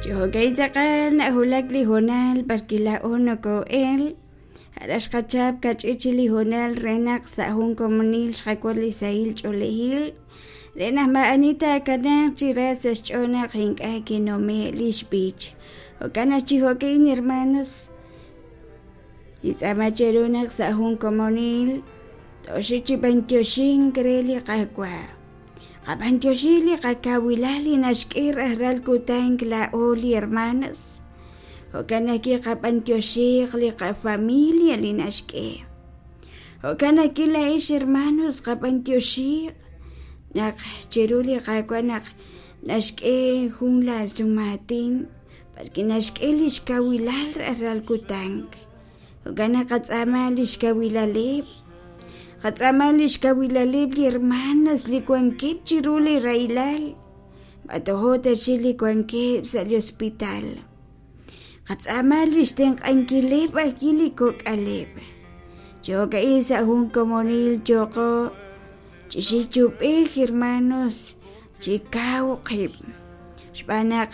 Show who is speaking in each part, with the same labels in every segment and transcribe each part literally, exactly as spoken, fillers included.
Speaker 1: Chi jo'ka'in tz'aqal nahulak li hoonal parki laa'o noko'el ja'ar xqachap kach'ich chik li hoonal re naq sa' jun komonil xqawotz li sahil ch'oolejil re naq ma'ani taakanaaq chi ra sa' xch'ool naq ink'a' kinume' li xb'ich jo'kan naq chi jo'ka'in hermanos nintz'aama cheru naq sa' jun komonil toxik chi b'antioxink re li Qaawa' qab'antioxi li qakawilal li naxk'e rajlal kutan laa'o li hermanas jo'kan naq kiqab'antioxiq li qafamilia li naxk'e jo'kan naq laa'ex hermanos qab'antioxiq naq chiru li Qaawa' naq naxk'e jun la sumaatin parki naxk'e li xkawilal rajlal kutan jo'kan naq qatz'aama li xkawilaleb' qatz'aama li xkawilaleb' li hermanas li wankeb' chiru li rahilal b'atojo ta chik li wankeb' sa' li hospital qatz'aama li xtenq'ankileb' ajwi' li kok'aleb' jo'ka'in sa' jun komonil yoqo chixik chub'ej hermanos chi kaw qib' xb'aan naq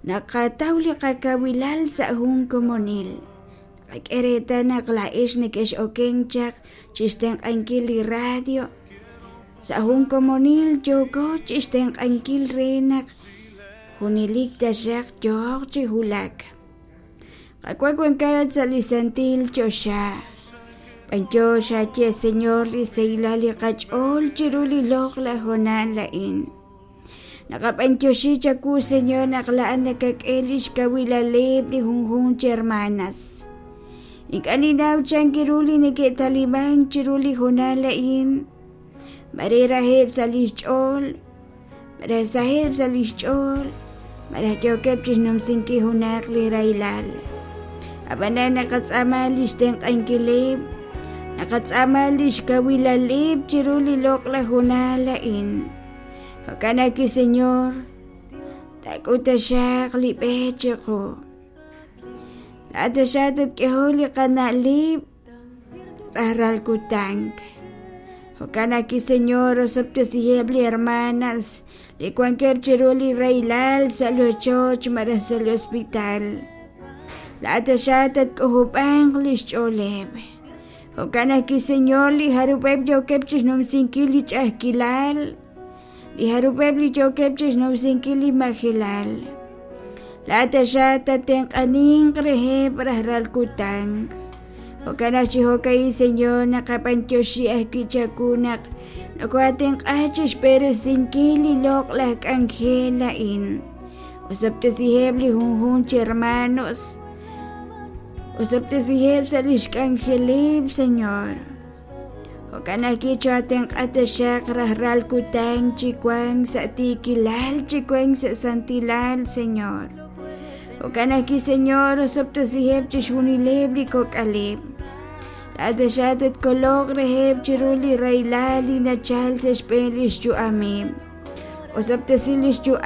Speaker 1: naqataw li qakawilal sa' jun komonil qak'e reetal naq laa'ex neke'x'oken chaq chixtenq'ankil li radio sa' jun komonil yooko chixtenq'ankil re naq junelik taxaq yooq chi hulak Qaawa' wankat sa' li santil choxa b'antiox aye Señor li sahilal li qach'ool chiru li loq'laj hoonal la'in naqab'antioxi chawu Señor naq la'an nakak'e li xkawilaleb' li junjun chi hermanas ink'a' ninaw chan kiru li neke'taliman chiru li hoonal la'in mare rajeb' sa' li xch'ool mare saheb' sa' li xch'ool mare yookeb' chixnumsinkil junaq li rahilal ab'anan naqatz'aama li xtenq'ankileb' naqatz'aama li xkawilaleb' chiru li loq'laj hoonal la'in jo'kan naq Señor taak'ut taxaq li b'e chiqu laa'at taxaq tatk'eho li qana'leb' rajlal kutan jo'kan naq Señor osob'tesiheb' li hermanas li wankeb' chiru li rahilal sa' li ochoch malaj sa' li hospital laa'at taxaq tatk'ojob'anq li xch'ooleb' jo'kan naq Señor li jarub'eb' yookeb' chixnumsinkil li ch'a'ajkilal li jarub'eb' li yookeb' chixnumsinkil li majelal laa'at taxaq tatenq'aninq reheb' rajlal kutan jo'kan naq chi jo'ka'in Señor naqab'antioxi ajwi' chawu naq nokoatenq'a chixb'eresinkil li loq'laj k'anjel la'in osob'tesiheb' li junjun chi hermanos osob'tesiheb' sa' li xk'anjeleb' Señor jo'kan naq kichoatenq'a taxaq rajlal kutan chi wank sa' tiikilal chi wank sa' santilal Señor jo'kan naq Señor osob'tesiheb' chixjunileb' li kok'aleb' laa'at taxaq tatkoloq reheb' chiru li rahilal li nachal sa' xb'een li xyu'ameb' osob'tesi li xyu'am